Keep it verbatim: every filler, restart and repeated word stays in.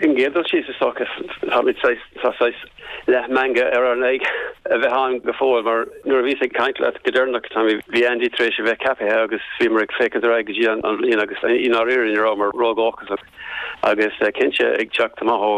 An gcéad dul síos, is dócha, tá leathmheangadh ar ár n-aghaidh a bheith ann go fóill, mar nuair a bhíos ag caint leat go deireanach, bhí Andy tar éis a bheith ceaptha agus bhíomar ag féachaint ar aghaidh go dtí an bhliain agus i ndáiríre ní rabhamar ródhóchasach agus cinnte ag teacht amach ó